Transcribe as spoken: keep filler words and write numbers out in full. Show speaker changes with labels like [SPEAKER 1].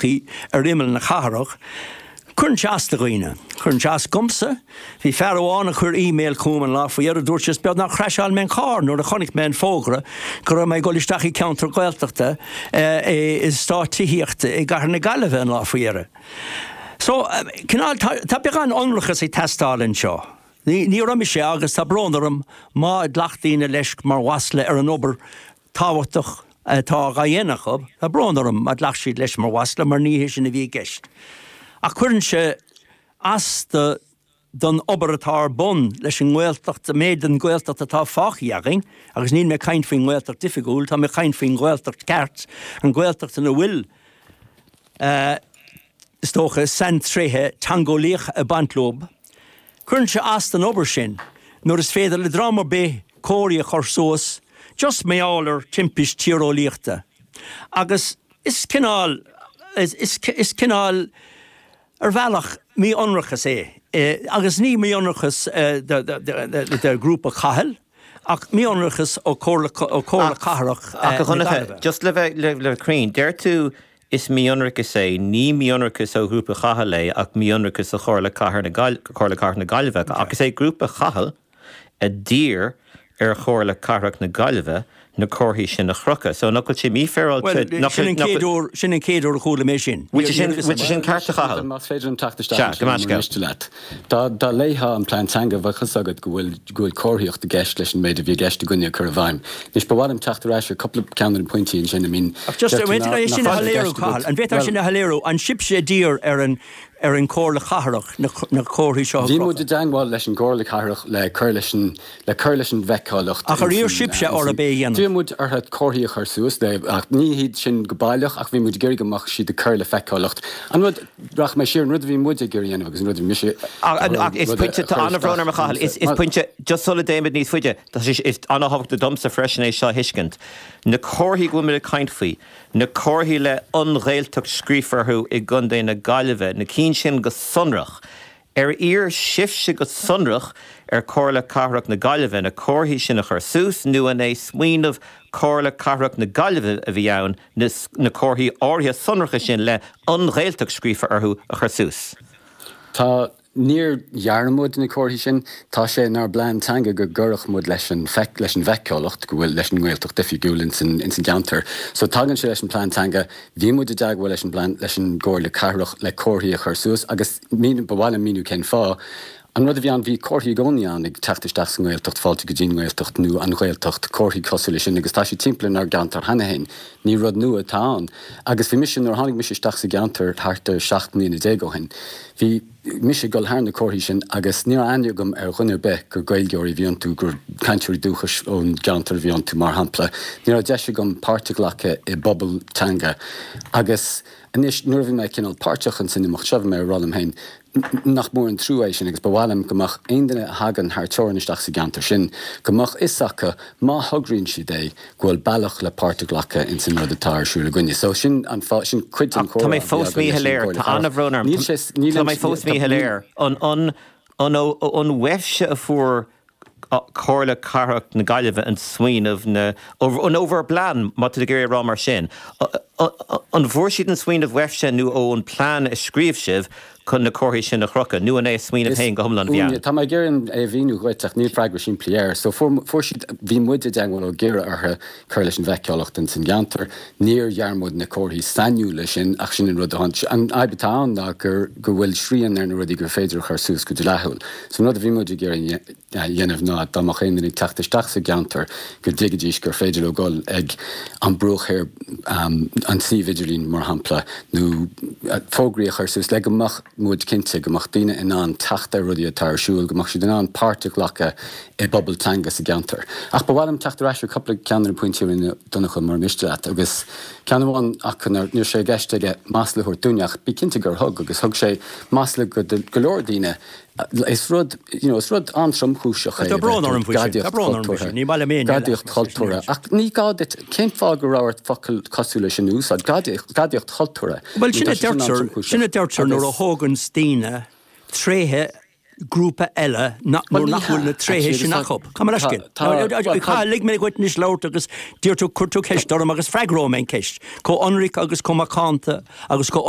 [SPEAKER 1] tógtha ar imeall na cathrach, cuireann sé as do dhaoine. Cuireann sé as domsa, bhí fear amháin a chuir email chugam an lá faoi dheireadh dúirt sé beagnach chraiseáil mé an carr nuair a chonaic mé an fógra go raibh mé ag dul isteach i ceantar Gaeltachta i eastát tithíochta i gcathair na Gaillimhe an lá faoi dheireadh. So cineál tá beagán ionracas ag teastáil anseo. Ní ní raibh sé agus tá brón orm má ghlac daoine leis mar mhasla ar an obair tábhachtach atá á dhéanamh acu, tá brón orm má ghlac siad leis mar mhasla mar ní hé sin a bhí i gceist. Ach cuireann sé as do don obair atá ar bun leis an nGaeltacht méid den Ghaeltacht atá fágtha againn, agus níl mé ag caint faoin nGaeltacht oifigiúil, tá mé ag caint faoin Ghaeltacht ceart, an Ghaeltacht ina bhfuil uh, is dócha saintréithe teangeolaíocha ag baint leo. Cuireann sé as don obair sin, nuair is féidir le dream ar bith comharthaí a chur suas, just mar gheall ar timpiste tíreolaíochta. Agus is cineál is, is, is cineál ar bhealach mí-ionracas é. E, agus ní mí-ionracas e, de, de, de, de, de grúpa Chathail, ach mí-ionracas ó Chomhairle Cathrach
[SPEAKER 2] Ach a Dhonncha, just le bheith le le cruinn, deir tú is mí-ionracas é, ní mí-ionracas ó ghrúpa Chathail é ach mí-ionracas ó Chomhairle Cathair na Comhairle Cathrach na Gaillimhe, agus é grúpa Chathail a d'iarr ar Chomhairle Cathrach na Gaillimhe na comharthaí sin a chrochadh. So nach bhfuil sé mífhéaráilte
[SPEAKER 1] sin an chéad sin an chéad uair a chuala mé sin.
[SPEAKER 2] sin ceart a Chathail.
[SPEAKER 3] Más féidir an teacht isteach leat. Dá dá léifeá an plean teanga bheadh a fhios agat go bhfuil go bhfuil comharthaíocht i gceist leis an méid a bhí i gceist againne a chur i bhfeidhm. Anois ba mhaith liom teacht ar ais ar cúpla ceann de na pointí sin I mean
[SPEAKER 1] just sin a léiriú Cathal, an bhféadfá sin a léiriú an sibhse a d'iarr ar an ar an Chomhairle Cathrach na comharthaí seo.
[SPEAKER 3] Bhí muid i dteagmháil leis an gComhairle Cathrach le cur leis an le cur leis an bhfeiceálacht.
[SPEAKER 1] Ach ar iarr sibhse orthu é a dhéanamh.
[SPEAKER 3] D'iarr muid orthu comharthaí a chur suas le ach ní hiad sin go baileach ach bhí muid ag iarraidh go mbeadh siad ag cur le feiceálacht. An rud rachaidh mé siar an rud a bhí muid ag iarraidh a dhéanamh agus an rud a bhí mise
[SPEAKER 2] Ach is pointe tá an-bhrón orm a Chathail is is pointe just sula dtéimid níos faide Tá sé is an-tábhachtach domsa freisin é seo a thuiscint. Na comharthaí go bhfuil muid ag caint faoi, na comharthaí le an Ghaeltacht scríofa orthu i gContae na Gaillimhe, na cinn sin go sonrach. Ar iarr sibhse go sonrach ar Chomhairle Cathrach na Gaillimhe na comharthaí sin a chur suas nó an é smaoineamh Comhairle Cathrach na Gaillimhe a bhí ann na, na comharthaí áirithe sonracha sin le an Ghaeltacht scríofa orthu a chur suas.
[SPEAKER 3] Tá níor dhear muid na comharthaí sin tá sé inár bplean teanga go gcuirfeadh muid leis an feic leis an bhfeiceálacht go bhfuil leis an nGaeltacht oifigiúil in san in san gceantar. So tagann sé leis an plean teanga, bhí muid i dteagmháil leis an bplean leis an gComhairle Cathrach le comharthaí a chur suas agus mín ba mhaith liom míniú cén fáth. An rud a bhí ann bhí comharthaí i gcónaí ann ag teacht isteach sa nGaeltacht fáilte go dtí an nGaeltacht nó an Ghaeltacht comharthaí cosúil leis sin agus tá sé timpeall inár gceantar cheana féin. Ní rud nua atá ann. Agus bhí mise nuair tháinig mise isteach sa gceantar thart ar seacht mbliana déag ó shin. Bhí mise ag dul thar na comharthaí sin agus ní raibh aithne agam ar dhuine ar bith gur Gaeilgeoirí a bhí iontu gur cainteoirí dúchais ón gceantar a bhí iontu mar shampla. Ní raibh deis agam páirt a ghlacadh i bpobal teanga. Agus anois nuair a bhí mé cineál páirteach in san imeacht seo bhí mé ag rá liom féin nach mór an trua é sin agus ba mhaith liom go mbeadh aon duine a thagann thar teorainn isteach sa gceantar sin, go mbeadh fhios acu má thograíonn siad é go bhfuil bealach le páirt a ghlacadh in san rud atá ar siúl againne. So sin an sin cuid den
[SPEAKER 2] Tá mé fós míshoiléir Tá an-bhrón orm. Tá mé fós míshoiléir an an an an uaibhse a fuair Comhairle Cathrach na Gaillimhe an smaoineamh na an ó bhur bplean má tá ag rá mar sin. An bhfuair siad an smaoineamh uaibhse nó ó an plean a scríobh sibh chun na comharthaí sin a chrochadh, nó an é smaoineamh féin go hiomlán bhean.
[SPEAKER 3] Tá mé ag iarraidh é a mhíniú dhuit ach níl freagra simplí air, so fuair siad bhí muid i dteagmháil ag iarraidh orthu cur leis an bhfeiceálacht in san gceantar, níor dhear muid na comharthaí sainiúla sin ach sin an rud a an fhadhb atá ann ná gur go bhfuil srian ar na rudaí gur féidir a chur suas go dleathúil. So an rud a bhí muid ag iarraidh dhéanamh ná dá mbeadh aon duine ag teacht isteach sa gceantar go dtuigfidís gur féidir leo dul ag an bruach ar um, an suíomh idirlín mar shampla nó fógraí a chur suas le go mbeadh muid cinnte go mbeadh daoine in ann teacht ar rudaí atá ar siúl, go mbeadh siad in ann páirt a ghlacadh i bpobal teanga sa gceantar. Ach ba mhaith liom teacht ar ais ar cúpla ceann de na pointí rinne Donncha mar miste leat agus ceann amháin acu ní raibh sé i gceist aige masla a thabhairt dúinne ach bí cinnte gur thug agus thug sé masla go go leor daoine is rud you know, is rud an-tromchúiseach é
[SPEAKER 1] Tá brón orm faoi sin, tá brón orm faoi sin, ní maith liom aon
[SPEAKER 3] gadaíocht chultúrtha ach ní gá duit cén fáth go raibh ort focal cosúil leis sin a úsáid gadaíocht chultúrtha.
[SPEAKER 1] Well sin a deirtear sin a deirtear nuair a thógann daoine tréithe grúpa eile nuair nach bhfuil na tréithe sin acu. Cá leis lig mé dhuit anois labhairt agus d'iarr tú chuir tú ceist orm agus freagróidh mé an ceist. Chomh hionraic agus chomh macánta agus chomh